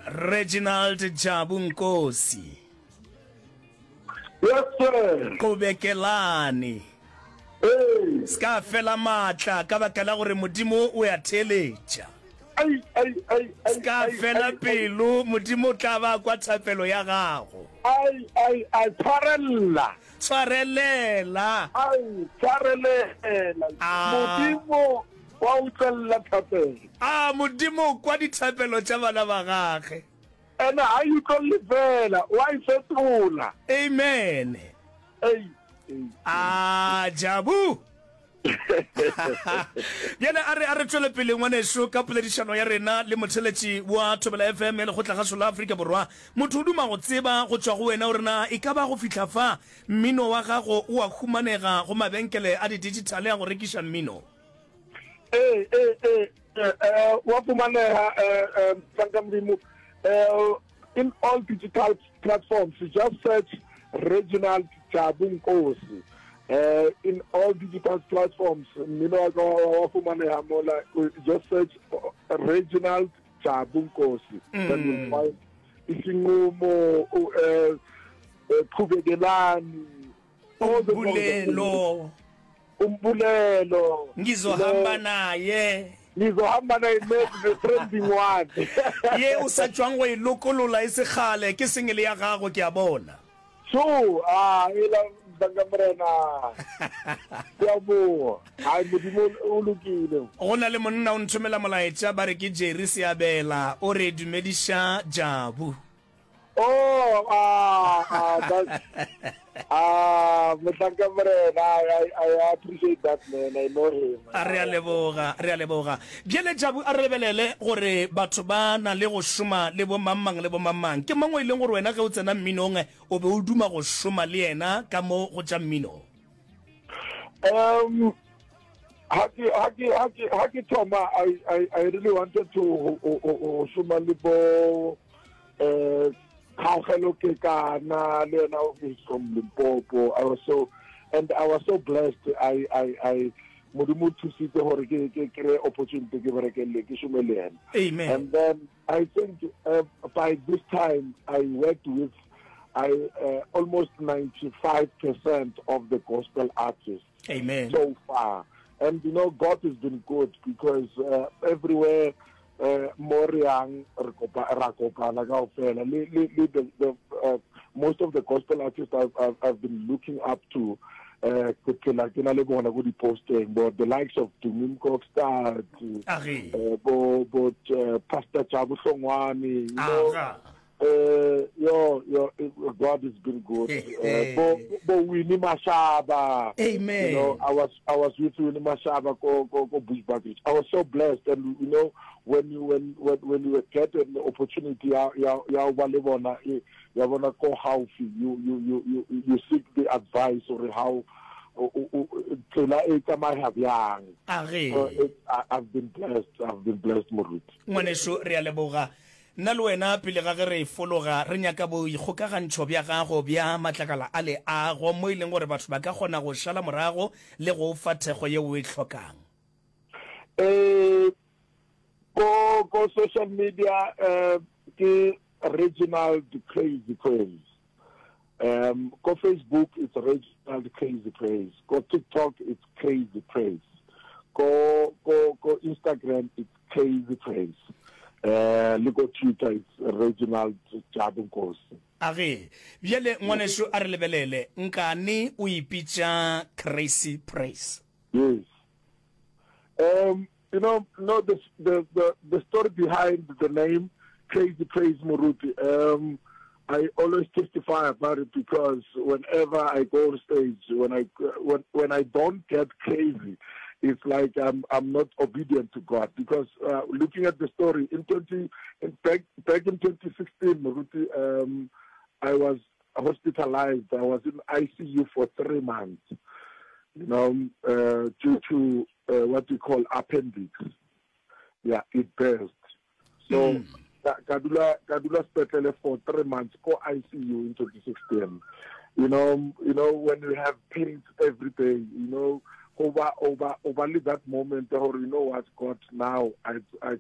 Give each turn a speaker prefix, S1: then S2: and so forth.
S1: Reginald Jabu Nkosi.
S2: Yes sir.
S1: Qobekelane.
S2: Ee.
S1: Se ka fela maatla ka baka la gore Modimo o a theeletša.
S2: Ai ai ai ai.
S1: Se ka fela pelo, Modimo o tla ba kwa thapelo ya gago.
S2: Ai ai ai tshwarella.
S1: Tshwarelela.
S2: Ai tshwarelela.
S1: Ah.
S2: Modimo wa utlwelela thapelo.
S1: A Modimo o kwa dithapelo tša bana ba gage.
S2: Ene ha e utlwelele fela, wa e fetola.
S1: Amen.
S2: Ei, ei.
S1: A Jabu. Bjale a re a re tšwele pele ngwaneso ka poledišano ya rena le motheletši wa Thobela FM ya Lekgotlagašo la Afrika Borwa. Motho o duma go tseba go tšwa go wena gore na e ka ba go fihla fa mmino wa gago o a humanega go mabenkele a di-digital a go rekiša mmino.
S2: Ee, ee, ee, eh, wa fumaneha eh, eh, mohlanka Modimo eh, in all digital platforms just search Reginald Jabu Nkosi eh, in all digital platforms mmino wa ka wa wa fumaneha mola just search uh, Reginald Jabu Nkosi then you'll find isinqumo u- eh, eh, qhubekelani all the songs are
S1: Umbulelo.
S2: Umbulelo.
S1: Ngizohamba naye.
S2: Ngizohamba naye maybe the trending one.
S1: Ye o sa tšwang go e lokolola e se kgale ke single ya gago ke a bona.
S2: Sure, ah, ela mhlanka morena. Ke a boa. Hai Modimo o lokile.
S1: Go na le monna o nthomela molaetša ba re ke Jerry Seabela o re dumediša Jabu.
S2: Oh, ah, ah, that's, ah, mohlanka morena, I, I, I appreciate that man, I know him.
S1: A re a leboga, re a leboga. Bjale Jabu a re lebelele gore batho ba na le go šoma le bo mang mang le bo mang mang. Ke mang o e leng gore wena ge o tsena mminong o be o duma go šoma le yena ka mo go tša mmino?
S2: Um, ha ke ha ke ha ke ha ke thoma I I I really wanted to go šoma le bo eh Kgaogelo Kekana le yena is from Limpopo. I was so and I was so blessed. I I I Modimo o thusitse gore ke ke kry opportunity ke bereke le ke šome le ena.
S1: Amen.
S2: And then I think uh, by this time I worked with I uh, almost 95% of the gospel artists.
S1: Amen.
S2: So far. And you know God has been good because uh, everywhere eh mo re yang re kopa ra kopana kaofela le le le the, the uh, most of the gospel artists I've, I've, I've been looking up to eh ke phela ke na le bona go di-posteng bo the likes of Dumi Mkokstad eh, bo bo uh, Pastor Jabu Hlongwane you know Uh, yo, yo, God has been good. Uh, bo, bo Winnie Mashaba.
S1: Amen.
S2: You know, I was, I was with Winnie Mashaba go, go, go Bushbuckridge. I was so blessed, and you know, when you, when, when, when you get an opportunity, ya, ya, ya ba le bona, e, ya bona ko haufi, you, you, you, you, you seek the advice or how, tsela e tsamaya bjang.
S1: Age.
S2: So it, I, I've been blessed. I've been blessed, Moruti.
S1: Ngwaneso, re a leboga. Nna le wena, pele ga ge re fologa, re nyaka boikgokagantšho bja gago bja matlakala a leago, mo e leng gore batho ba ka kgona go šala morago le go o fa thekgo yeo o e hlokang.
S2: Eh, ko, ko social media, eh, ke Reginald Crazy Praise. Um, ko Facebook it's Reginald Crazy Praise. Ko TikTok it's Crazy Praise. Ko ko ko Instagram it's Crazy Praise. Uh, le ko Twitter it's Reginald Jabu Nkosi.
S1: A ge, bjale ngwanešu a re lebelele, nkane o ipitša Crazy Praise?
S2: Yes. Um, you know, no, the, the, the, the story behind the name Crazy Praise Moruti, um, I always testify about it because whenever I go on stage, when I, when, when I don't get crazy, it's like I'm, I'm not obedient to God. Because uh, looking at the story, in 20, in back, back in 2016, Moruti, um, I was hospitalized. I was in ICU for three months, you know, uh, due to uh, what we call appendix. Yeah, it burst. So, mm. ka dula ka dula sepetlele for three months ko ICU in 2016. You know, you know when you have pains every day, you know, over over over that moment or you know what God now I I